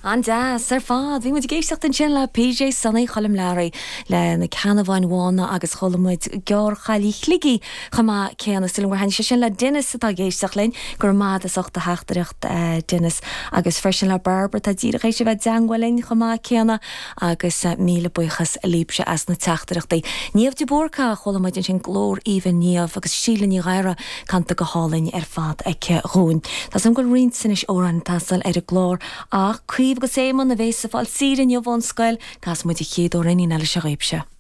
An-deas ar fad. Bhí muid ag éisteacht ansin le PJ Sonaí Choilm Learaí le Na Ceannabháin Bhána agus chuala muid Gearrchailí Shligigh chomh maith céanna. Is dóigh liom gur thaitnigh sé sin le Denis atá ag éisteacht linn. Go raibh maith agat as ucht do theachtaireacht, Denis. Agus freisin le Barbara atá díreach théis a bheith i dteangmháil linn chomh maith céanna agus míle buíochas libhse as na teachtaireachtaí. Niamh de Búrca, chuala muid ansin glór aoibhinn Niamh agus Síle Ní Ghadhra canta go hálainn ar fad aici dhúinn. Tá 's agam go bhfuil roinnt anois amhráin ag teastáil ar an gclár ach Caoimhe agus Éamonn a bhéas ag fáil saoire inniu ón scoil, casfaidh muid an chéad amhráinín eile seo dhaoibhse.